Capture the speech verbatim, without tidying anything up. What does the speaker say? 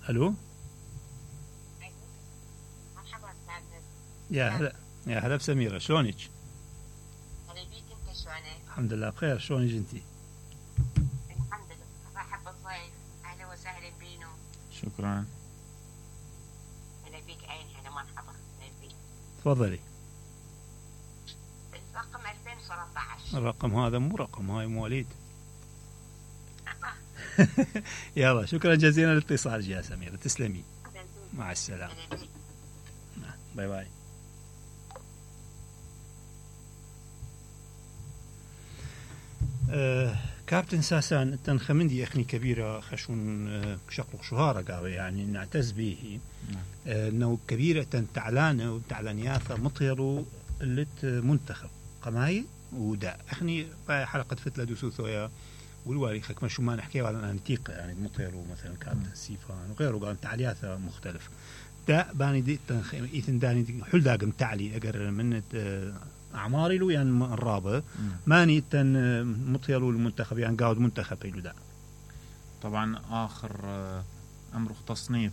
الو يا هلا يا هلا بسميرة، شلونك؟ هلا بيك، انت شلونك؟ الحمد لله بخير، شلونك انتي؟ الحمد لله. مرحب بالضيف، اهلا وسهلا بينو. شكرا. هلا بيك عيني، هلا مرحبا، هلا بيك. تفضلي. الرقم ألفين وثلاثة عشر. الرقم هذا مو رقم، هاي مواليد. يلا شكرا جزيلا لاتصالك يا سميرة، تسلمي. مع السلامة. باي باي. أه كابتن ساسان التن خمندي اخني كبيرة خشون أه شقلق شهارة قاوي يعني نعتز به أه انه كبيرة تن تعلانة وتعلانياثة مطيرو اللت منتخب قماي ودا اخني حلقة فتلة دوسوثويا والوالي خك ما شو ما نحكي على انتيق يعني مطيرو مثلا كابتن سيفان وغيره قال تعلياثة مختلف دا باني دي تن ايثن داني دي حل داقم تعلي اقر من أه أعماري له يعني الرابع ماني تن مطيلو المنتخب يعني قاعد منتخب يلو دا. طبعا آخر أمر تصنيف